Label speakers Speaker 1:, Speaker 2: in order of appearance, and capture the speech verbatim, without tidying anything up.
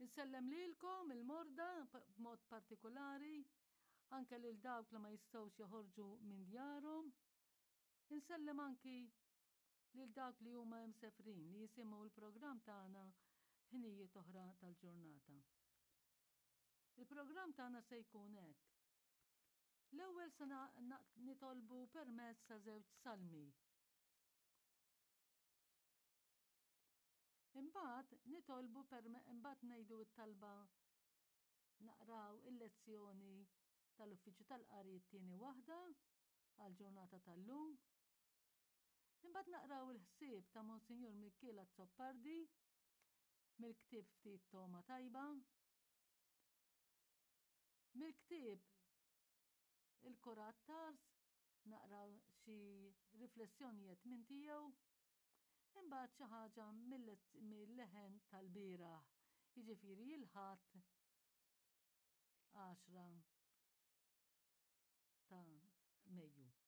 Speaker 1: Insellem lilkom il-morda b'mod partikolari, anke lil dawk li ma jistgħux joħorġu minn djarhom. Insellem anki lil dawk li huma msefrin li jisimgħu l-programm tagħna ħinijiet oħra tal-ġurnata. Il-programm tagħna se jkun hekk. L-ewwel se nitolbu permezz ta' żewġ salmi. Imbagħad nitolbu imbagħad ngħidu t-talba naqraw il-lezzjoni tal-Uffiċċju tal-Qari t-tieni waħda għall-ġurnata tal-lum. Imbagħad naqraw il-ħsieb ta' Monsinjur Mikiel Azzopardi mill-ktieb Ftit Togħma Tajba. Mill-ktieb Il-Kurat Tars naqraw xi riflessjonijiet minn tiegħu. Imbagħad xi ħaġa mill-leħen tal-bieraħ, jiġifieri il-Ħadd għaxra ta' Mejju.